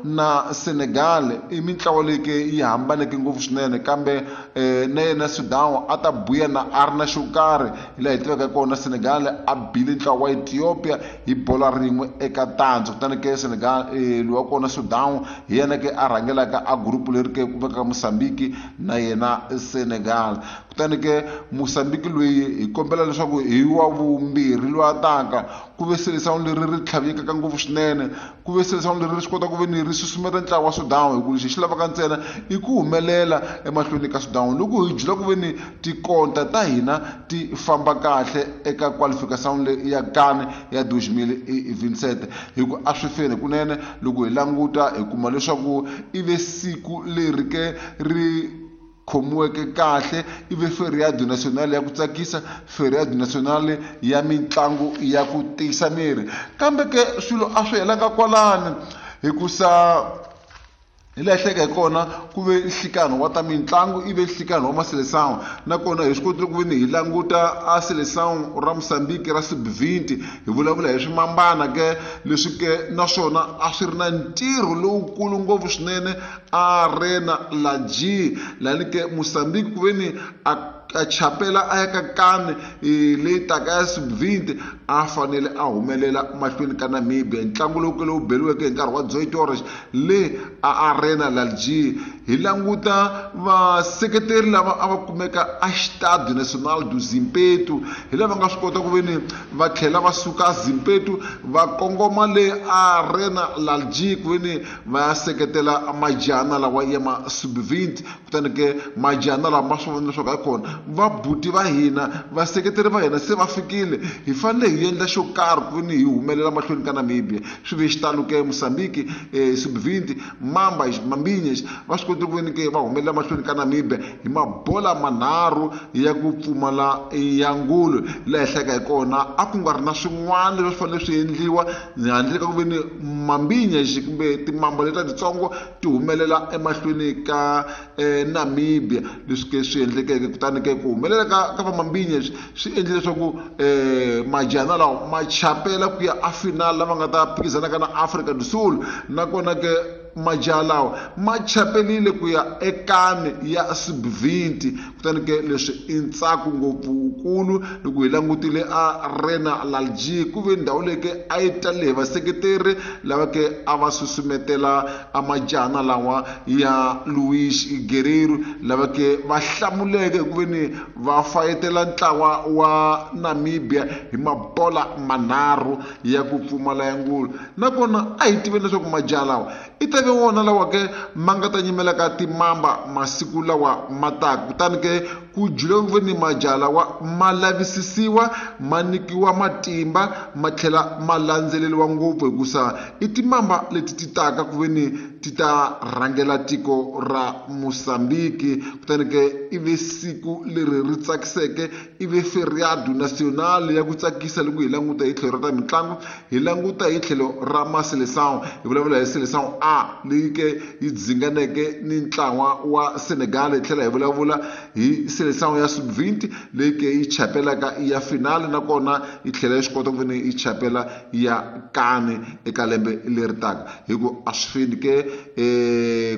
na Senegal i mintlawa leyi ke yi hambaneke ngopfu swinene, kambe na yena Sudan a ta buya na a ri na xo karhi. Hi laha hi tivaka kona, Senegal a bile ntlawa wa Ethiopia hi bola rin'we eka tandza. Kutani ke Senegal loyi wa kona Sudan hi yena ke a rhangelaka a group leri ke ku vekaka Mozambique na yena Senegal. Kutani ke Mozambique loyi hi kombela leswaku hi wa vumbirhi loyi a taka, ku ve Seleção leri ri tlhavekaka ngopfu swinene, ku ve Seleção leri ri swi kota ku ve ni ri susumeta ntlawa wa Sudan, hi ku lexi xi lavaka ntsena i ku humelela emahlweni ka Sudan. Loko hi jula ku ve ni tikonta ta hina ti famba kahle eka qualification leyi ya CAN ya 2027, hi ku a swi feni kunene. Loko hi languta hi kuma leswaku i ve siku leri ke ri khomiweke kahle, i ve feriado national ya ku tsakisa, feriado national ya mitlangu ya ku tiyisa miri. Kambe ke swilo a swi helanga kwalani, hikusa hi laha hleka hi kona ku ve nhlikano wa ta mitlangu, i ve nhlikano wa Maseleção. Nakona hi swi kotile ku ve ni hi languta a Seleção ra Mozambique ra sub-20, hi vulavula hi swimambana ke leswi ke naswona a swi ri na ntirho lowukulu ngopfu swinene Arena Laji, lani ke Mozambique ku ve ni a chapela a ya ka CAN leyi taka ya sub-20, a fanele a humelela mahlweni ka Namibia. Ntlangu lowu ke lowu beriweke hi nkarhi wa Zoe Torres le a Arena Lalji. Hi languta vaseketeri lava a va kumeka a Estádio Nacional do Zimpeto, hi lava nga swi kota ku ve ni va tlhela va suka Zimpeto va kongoma le Arena Lalji ku ve ni va ya seketela majana lawa ya ma sub-20. Kutani ke majana lawa ma swi vona leswaku hayikhona vabuti va hina, vaseketeri va hina se va fikile, hi fanele hi endla xo karhi ku ve ni hi humelela mahlweni ka Namibia. Swi ve xitalo ke Mozambique sub-20 Mamba Mambinhas va swi kotile ku ve ni ke va humelela mahlweni ka Namibia hi mabola manharhu ya ku pfumala ya ngulu. Laha hi hlayaka hi kona a ku nga ri na swin'wana leswi swi fanele swi endliwa handle ka ku ve ni Mambinhas kumbe timamba letiya titsongo ti humelela emahlweni ka Namibia, leswi ke swi endlekeke. Kutani ke ku humelela ka va Mambinhas swi endle leswaku majana lawa ma chapela ku ya a final lava nga ta phikizanaka na Afrika do Sul. Nakona ke majaha lawa ma chapelile ku ya eCAN ya sub-20. Kutani ke leswi i ntsako ngopfu wukulu loko hi langutile Arena Lalji, ku ve ndhawu leyi ke a yi talele hi vaseketeri lava ke a va susumetela a majana lawa ya Luis Guerreiro, lava ke va hlamuleke hi ku ve ni va fayetela ntlawa wa Namibia hi mabola manharhu ya ku pfumala ya ngulu. Nakona a hi tiveni leswaku majaha lawa i ta ve wona lawa ke ma nga ta nyimela ka timamba masiku lawa ma taka. Kutani ke ku jula ku ve ni majaha lawa ma lavisisiwa, ma nyikiwa matimba, ma tlhela ma landzeleriwa ngopfu, hikusa i timamba leti ti taka ku ve ni ti ta rhangela tiko ra Mozambique. Kutani ke i ve siku leri ri tsakiseke, i ve feriado national ya ku tsakisa loko hi languta hi tlhelo ra ta mitlangu, hi languta hi tlhelo ra Maseleção. Hi vulavula hi Seleção A leyi ke yi dzinganeke ni ntlawa wa Senegal, hi tlhela hi vulavula hi Seleção ya sub-20 leyi ke yi chapelaka ya final, nakona yi tlhela yi swi kota ku ve ni yi chapela ya CAN eka lembe leri taka. Hi ku a swi feni ke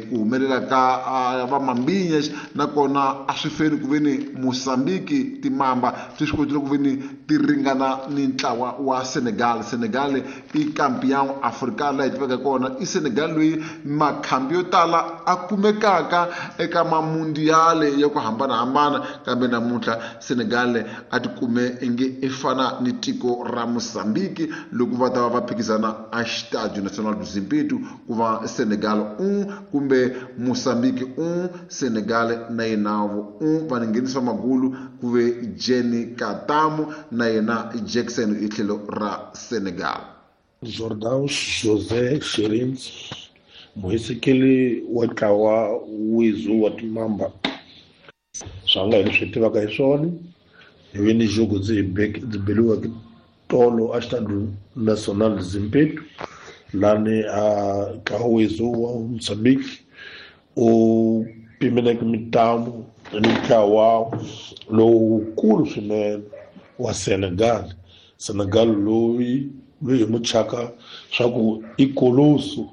ku humelela ka va Mambinhas, nakona a swi feni ku ve ni Mozambique timamba ti swi kotile ku ve ni ti ringana ni ntlawa wa Senegal. Senegal i campeão africano laha hi tivaka kona, i Senegal loyi makhambi yo tala a kumekaka eka mamundiale ya ku hambanahambana, kambe namuntlha Senegal a ti kume inge i fana ni tiko ra Mozambique loko va ta va va phikizana a Estádio Nacional do Zimpeto, ku va Senegal 1 kumbe Mozambique 1, Senegal na yenavo 1. Va nghenisa magulu ku ve Jenny Katamu na yena Jackson hi tlhelo ra Senegal. Jordão José Xerins, muhisekeli wa ntlawa wizu wa timamba, swa nga hi leswi hi tivaka hi swona, hi ve ni jogo ndzi beliweke tolo a Estádio Nacional Zimpeto, lani a ntlawa wizu wa Mozambique u pimeleke mitlangu ni ntlawa lowukulu swinene wa Senegal. Senegal loyi hi muchaka swa ku i koloso